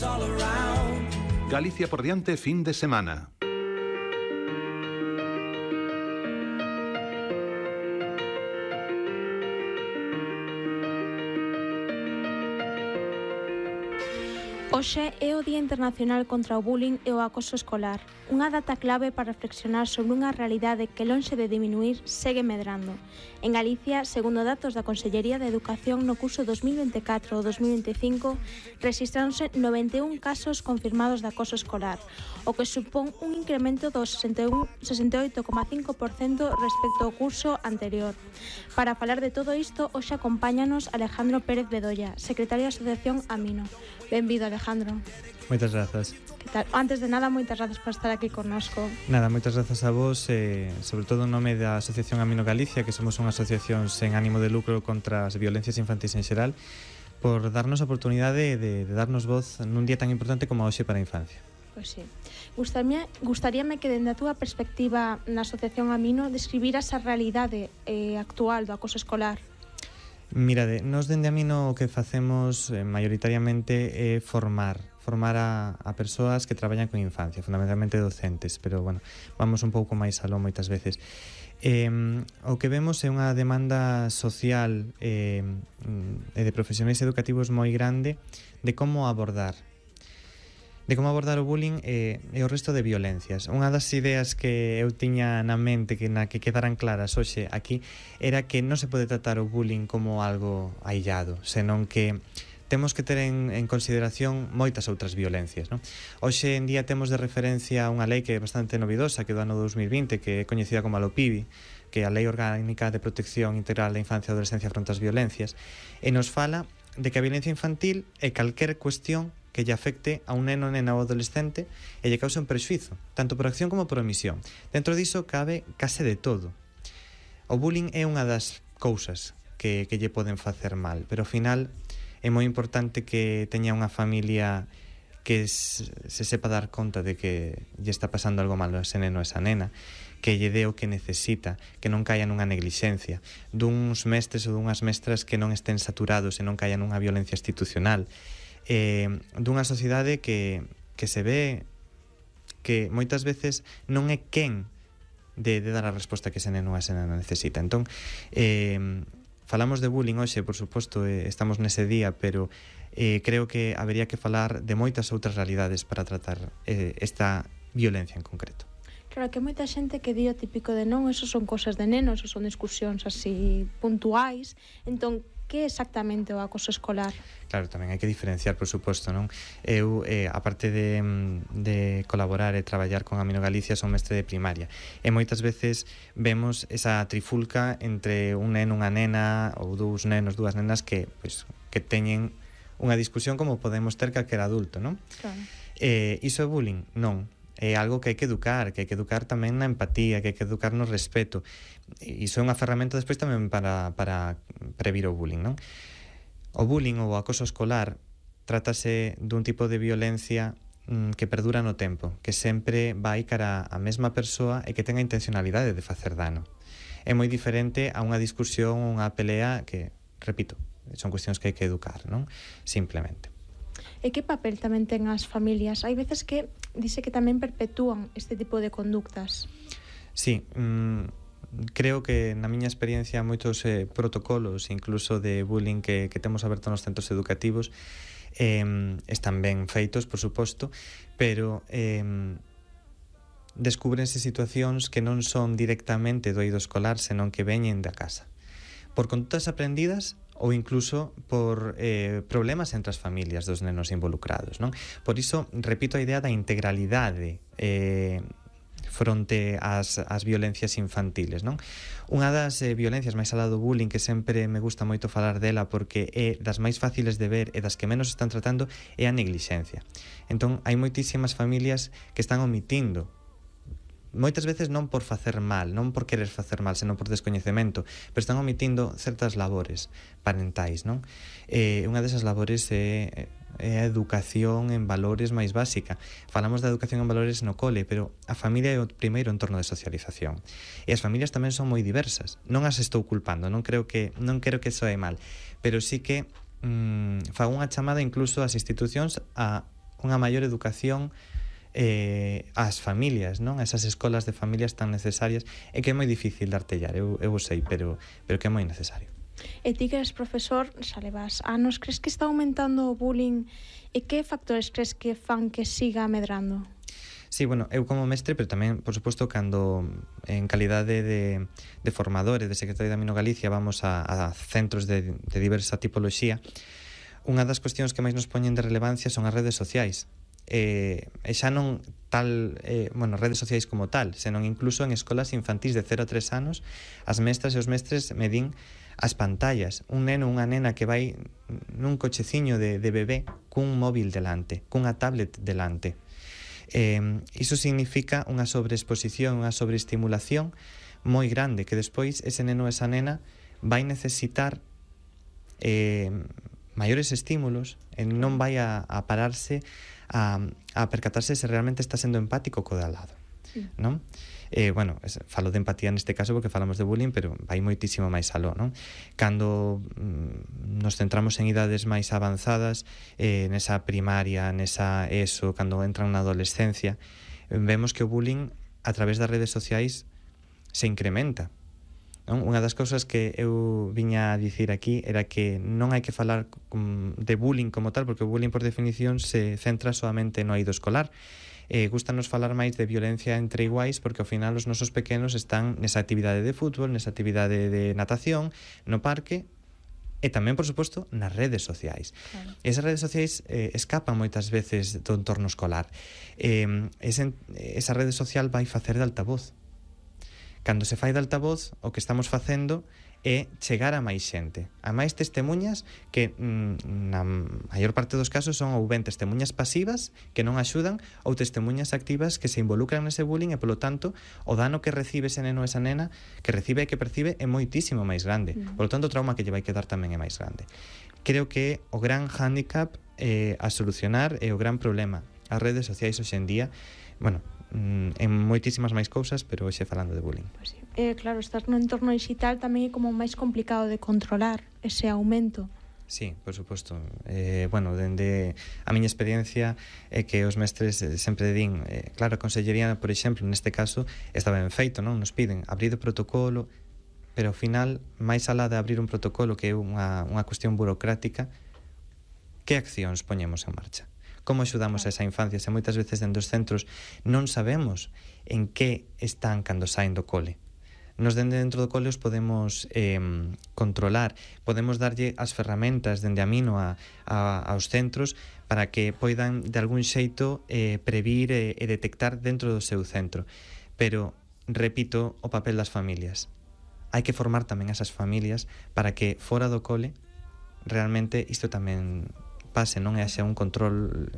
all around. Galicia por diante fin de semana. Hoxe é o Día Internacional contra o Bullying e o Acoso Escolar, unha data clave para reflexionar sobre unha realidade que, lonxe de diminuir, segue medrando. En Galicia, segundo datos da Consellería de Educación, no curso 2024 ou 2025, rexistráronse 91 casos confirmados de acoso escolar, o que supón un incremento do 68,5% respecto ao curso anterior. Para falar de todo isto, hoxe acompáñanos Alejandro Pérez Bedoya, secretario da Asociación Amino. Benvido, Alejandro. Moitas grazas. Que tal? Antes de nada, moitas grazas por estar aquí connosco. Nada, moitas grazas a vos, sobre todo en nome da Asociación Amino Galicia, que somos unha asociación sen ánimo de lucro contra as violencias infantis en xeral, por darnos a oportunidade de darnos voz nun día tan importante como hoxe para a infancia. Pois sí. Gustaríame que, dende a túa perspectiva na Asociación Amino, describiras a realidade actual do acoso escolar. Mirade, nós dende Amino o que facemos maioritariamente é formar a persoas que traballan con infancia, fundamentalmente docentes, pero bueno, vamos un pouco máis aló moitas veces. O que vemos é unha demanda social e de profesionais educativos moi grande de como abordar o bullying e o resto de violencias. Unha das ideas que eu tiña na mente na que quedaran claras hoxe aquí era que non se pode tratar o bullying como algo aillado, senón que temos que ter en consideración moitas outras violencias, non? Hoxe en día temos de referencia unha lei que é bastante novidosa, que é do ano 2020, que é coñecida como a LOPIBI, que é a Lei Orgánica de Protección Integral da Infancia e Adolescencia fronte ás Violencias, e nos fala de que a violencia infantil é calquer cuestión que lle afecte a un neno, nena ou adolescente e lle cause un prexuízo, tanto por acción como por omisión. Dentro diso cabe case de todo. O bullying é unha das cousas que lle poden facer mal, pero ao final é moi importante que teña unha familia que se sepa dar conta de que lle está pasando algo malo a ese neno ou esa nena, que lle dé o que necesita, que non caia nunha neglixencia, duns mestres ou dunhas mestras que non estén saturados e non caia nunha violencia institucional, dunha sociedade que se ve que moitas veces non é quen de dar a resposta que ese neno ou esa nena necesita. Entón, falamos de bullying hoxe, por suposto, estamos nese día, pero creo que habería que falar de moitas outras realidades para tratar esta violencia en concreto. Claro, que moita xente que di o típico de non, eso son cosas de nenos, eso son discusións así puntuais. Entón, que é exactamente o acoso escolar? Claro, tamén hai que diferenciar, por suposto, non? Eu, aparte de colaborar e traballar con Amino Galicia, son mestre de primaria, e moitas veces vemos esa trifulca entre un neno, unha nena, ou dous nenos, dúas nenas que teñen unha discusión como podemos ter calquer adulto, non? Claro. Iso é bullying? Non. É algo que hai que educar tamén na empatía, que hai que educar no respeto. Iso é unha ferramenta despois tamén para previr o bullying, non? O bullying ou o acoso escolar trátase dun tipo de violencia que perdura no tempo, que sempre vai cara a mesma persoa e que ten a intencionalidade de facer dano. É moi diferente a unha discusión ou unha pelea que, repito, son cuestións que hai que educar, non? Simplemente. E que papel tamén ten as familias? Hai veces que dice que tamén perpetúan este tipo de conductas. Sí, creo que na miña experiencia moitos protocolos, incluso de bullying que temos aberto nos centros educativos, están ben feitos, por suposto, pero descúbrense situacións que non son directamente do eido escolar, senón que veñen da casa. Por condutas aprendidas ou incluso por problemas entre as familias dos nenos involucrados, non? Por iso, repito a idea da integralidade fronte ás violencias infantiles, non? Unha das violencias máis alá do bullying, que sempre me gusta moito falar dela porque é das máis fáciles de ver e das que menos están tratando, é a neglixencia. Entón, hai moitísimas familias que están omitindo, moitas veces non por facer mal, non por querer facer mal, senón por descoñecemento, pero están omitindo certas labores parentais, non? Unha desas labores é a educación en valores máis básica. Falamos da educación en valores no cole, pero a familia é o primeiro entorno de socialización. E as familias tamén son moi diversas. Non as estou culpando, non quero que soe mal, pero sí que fago unha chamada incluso ás institucións a unha maior educación ás familias, non? Esas escolas de familias tan necesarias, e que é moi difícil de artellar, eu sei, pero que é moi necesario. E ti que eres profesor, xa levas anos, crees que está aumentando o bullying e que factores crees que fan que siga medrando? Sí, bueno, eu como mestre, pero tamén, por suposto, cando en calidade de formadores, de secretario de Amino Galicia, vamos a centros de diversa tipoloxía, unha das cuestións que máis nos poñen de relevancia son as redes sociais. E xa non tal, redes sociais como tal, senón incluso en escolas infantís de 0 a 3 anos, as mestras e os mestres medín as pantallas. Un neno, unha nena que vai nun cocheciño de bebé cun móvil delante, cunha tablet delante. Iso significa unha sobreexposición, unha sobreestimulación moi grande, que despois ese neno ou esa nena vai necesitar maiores estímulos e non vai a pararse a percatarse se realmente está sendo empático co de al lado, non? Falo de empatía neste caso porque falamos de bullying, pero vai moitísimo máis aló, non? Cando nos centramos en idades máis avanzadas, nesa primaria, nesa ESO, cando entran na adolescencia, vemos que o bullying a través das redes sociais se incrementa, non? Unha das cousas que eu viña a dicir aquí era que non hai que falar de bullying como tal, porque o bullying por definición se centra solamente no eido escolar. Gústanos falar máis de violencia entre iguais, porque ao final os nosos pequenos están nesa actividade de fútbol, nesa actividade de natación, no parque, e tamén, por suposto, nas redes sociais. Claro. Esas redes sociais escapan moitas veces do entorno escolar. Esa rede social vai facer de altavoz. Cando se fai de altavoz, o que estamos facendo é chegar a máis xente, a máis testemuñas que na maior parte dos casos son ou ben testemuñas pasivas que non axudan ou testemuñas activas que se involucran nese bullying e, polo tanto, o dano que recibe ese neno ou esa nena, que recibe e que percibe, é moitísimo máis grande. Polo tanto, o trauma que lle vai quedar tamén é máis grande. Creo que o gran hándicap a solucionar é o gran problema. As redes sociais hoxe en día, en moitísimas máis cousas, pero hoxe falando de bullying. Pues sí. Claro, estar no entorno digital tamén é como máis complicado de controlar ese aumento. Sí, por suposto. Dende a miña experiencia é que os mestres sempre din, claro, a consellería, por exemplo, neste caso, está ben feito, non? Nos piden abrir o protocolo, pero ao final, máis alá de abrir un protocolo que é unha cuestión burocrática, que accións poñemos en marcha? Como axudamos a esa infancia? Se moitas veces dentro dos centros non sabemos en que están cando saen do cole. Nos dentro do cole os podemos controlar, podemos darlle as ferramentas dende a Amino aos centros para que poidan de algún xeito previr e detectar dentro do seu centro. Pero, repito, o papel das familias. Hai que formar tamén esas familias para que fora do cole realmente isto tamén pase, non haxa un control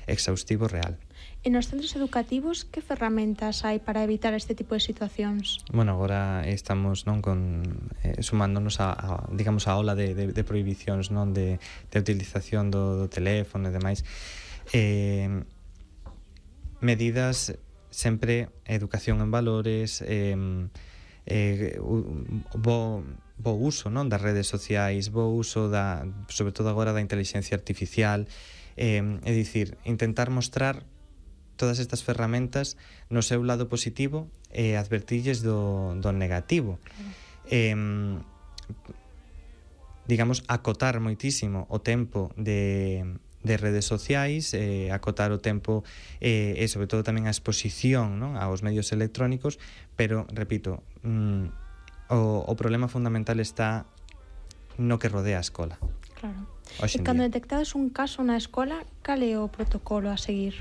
exhaustivo real. E nos centros educativos, que ferramentas hai para evitar este tipo de situacións? Agora estamos sumándonos a ola de prohibicións, non, de utilización do teléfono e demais. Medidas sempre, educación en valores, bo uso, non, das redes sociais, bo uso sobre todo agora da intelixencia artificial, é dicir, intentar mostrar todas estas ferramentas no seu lado positivo e advertirlles do negativo. Acotar moitísimo o tempo de redes sociais, acotar o tempo e sobre todo tamén a exposición, non, aos medios electrónicos, pero, repito, o problema fundamental está no que rodea a escola. Claro. E cando detectades un caso na escola, cal é o protocolo a seguir?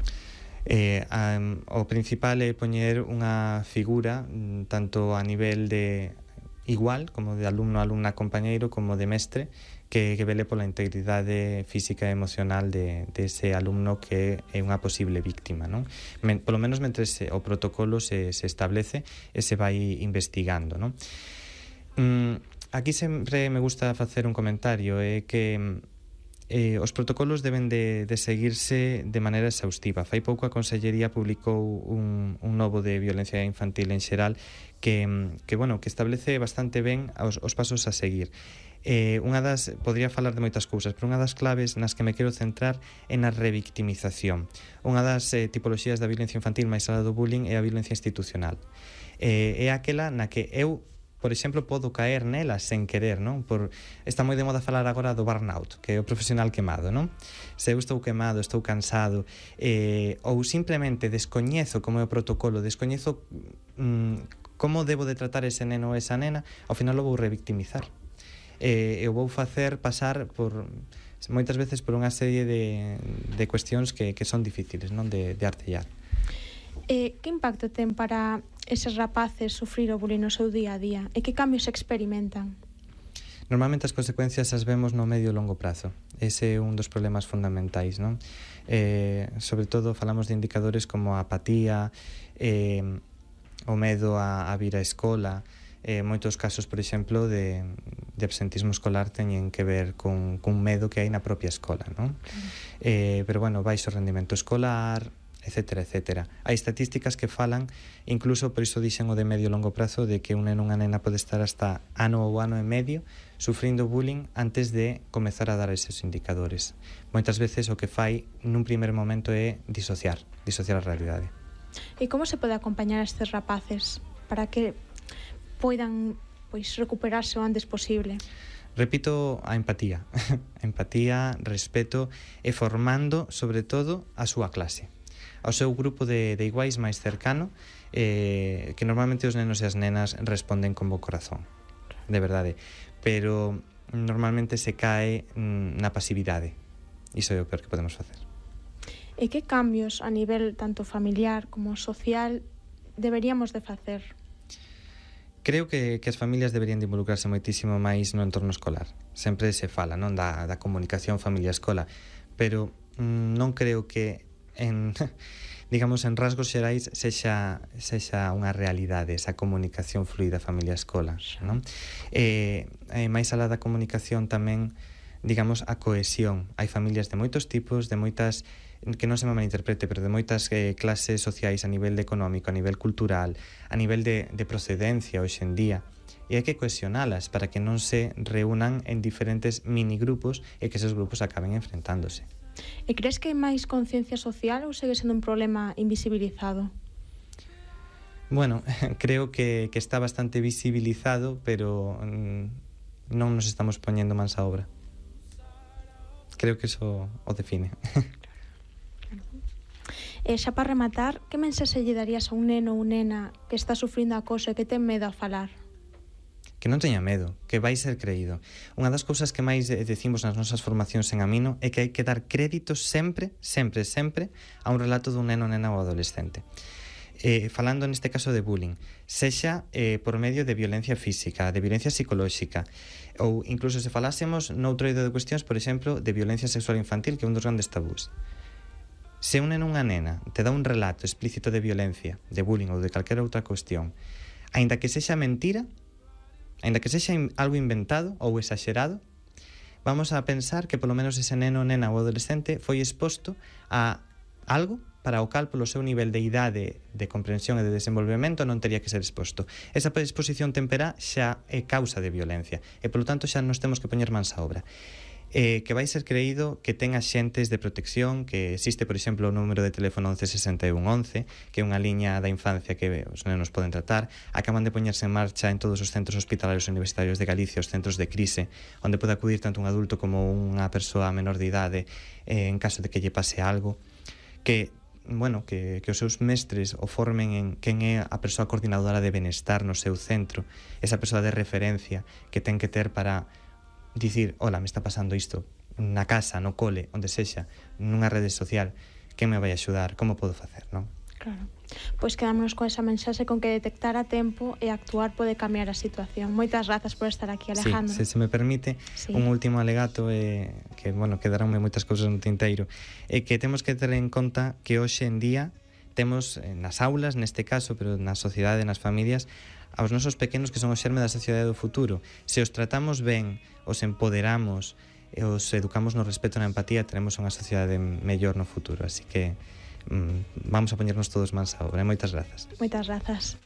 O principal é poñer unha figura tanto a nivel de igual, como de alumno, alumna, compañeiro, como de mestre, que vele pola integridade física e emocional de ese alumno que é unha posible víctima, non? Polo menos mentre o protocolo se establece e se vai investigando, non? Aquí sempre me gusta facer un comentario, é que os protocolos deben de seguirse de maneira exhaustiva. Fai pouco a Consellería publicou un novo de violencia infantil en xeral que establece bastante ben os pasos a seguir. Podría falar de moitas cousas, pero unha das claves nas que me quero centrar é na revictimización. Unha das tipoloxías da violencia infantil máis alá do bullying é a violencia institucional. É aquela na que eu, por exemplo, podo caer nela sen querer, non? Está moi de moda falar agora do burnout, que é o profesional quemado, non? Se eu estou quemado, estou cansado, ou simplemente descoñezo como é o protocolo, descoñezo como debo de tratar ese neno ou esa nena, ao final o vou revictimizar. Eu vou facer pasar moitas veces por unha serie de cuestións que son difíciles, non? De artellar. Que impacto ten para eses rapaces sufrir o bullying no seu día a día? E que cambios experimentan? Normalmente as consecuencias as vemos no medio e longo prazo. Ese é un dos problemas fundamentais, non? Sobre todo falamos de indicadores como a apatía, o medo a vir á escola. Moitos casos, por exemplo, de absentismo escolar teñen que ver cun medo que hai na propia escola, non? Pero, bueno, baixo rendimento escolar, etcétera, etcétera. Hai estatísticas que falan, incluso por iso dixen o de medio e longo prazo, de que un neno ou unha nena pode estar hasta ano ou ano e medio sufrindo bullying antes de comezar a dar eses indicadores. Moitas veces o que fai nun primer momento é disociar a realidade. E como se pode acompañar a estes rapaces para que poidan recuperarse o antes posible? Repito, a empatía. Empatía, respeto e formando, sobre todo, a súa clase, ao seu grupo de iguais máis cercano, que normalmente os nenos e as nenas responden con bo corazón, de verdade, pero normalmente se cae na pasividade. Iso é o peor que podemos facer. E que cambios a nivel tanto familiar como social deberíamos de facer? Creo que as familias deberían de involucrarse moitísimo máis no entorno escolar. Sempre se fala, non, da comunicación familia-escola, pero non creo que en rasgos xerais sexa unha realidade esa comunicación fluida familia-escola, non? Máis alá da comunicación tamén, digamos, a cohesión. Hai familias de moitos tipos, de moitas, que non se me malinterprete, pero de moitas clases sociais a nivel económico, a nivel cultural, a nivel de procedencia hoxe en día, e hai que cohesionalas para que non se reúnan en diferentes minigrupos e que esos grupos acaben enfrentándose. E crees que hai máis conciencia social ou segue sendo un problema invisibilizado? Bueno, creo que está bastante visibilizado, pero non nos estamos poñendo mans á obra. Creo que eso o define. E xa para rematar, que mensaxe lle darías a un neno ou nena que está sufrindo acoso e que ten medo a falar? Que non teña medo, que vai ser creído. Unha das cousas que máis decimos nas nosas formacións en Amino é que hai que dar crédito sempre, sempre, sempre a un relato dun neno, nena ou adolescente. Falando neste caso de bullying, sexa por medio de violencia física, de violencia psicolóxica, ou incluso se falásemos noutro eido de cuestións, por exemplo, de violencia sexual infantil, que é un dos grandes tabús. Se un neno ou unha nena te dá un relato explícito de violencia, de bullying ou de calquera outra cuestión, aínda que sexa mentira, aínda que sexa algo inventado ou exagerado, vamos a pensar que polo menos ese neno, nena ou adolescente foi exposto a algo para o cal polo seu nivel de idade, de comprensión e de desenvolvemento non teria que ser exposto. Esa exposición temperá xa é causa de violencia e polo tanto xa nos temos que poñer mans á obra. Que vai ser creído, que ten axentes de protección, que existe, por exemplo, o número de teléfono 116111, que é unha liña da infancia que os nenos poden tratar. Acaban de poñerse en marcha en todos os centros hospitalarios universitarios de Galicia, os centros de crise, onde pode acudir tanto un adulto como unha persoa menor de idade en caso de que lle pase algo. Que os seus mestres o formen en quen é a persoa coordinadora de benestar no seu centro, esa persoa de referencia que ten que ter para dicir, hola, me está pasando isto na casa, no cole, onde sexa, nunha rede social, quen me vai axudar, como podo facer, non? Claro. Pois quedámonos con esa mensaxe con que detectar a tempo e actuar pode cambiar a situación. Moitas grazas por estar aquí, Alejandro. Sí, se me permite, un último alegato que, quedaronme moitas cousas no tinteiro, é que temos que ter en conta que hoxe en día temos nas aulas, neste caso, pero na sociedade, nas familias, aos nosos pequenos que son o xerme da sociedade do futuro. Se os tratamos ben, os empoderamos e os educamos no respeto e na empatía, teremos unha sociedade mellor no futuro. Así que vamos a poñernos todos mans á obra. Moitas grazas. Moitas grazas.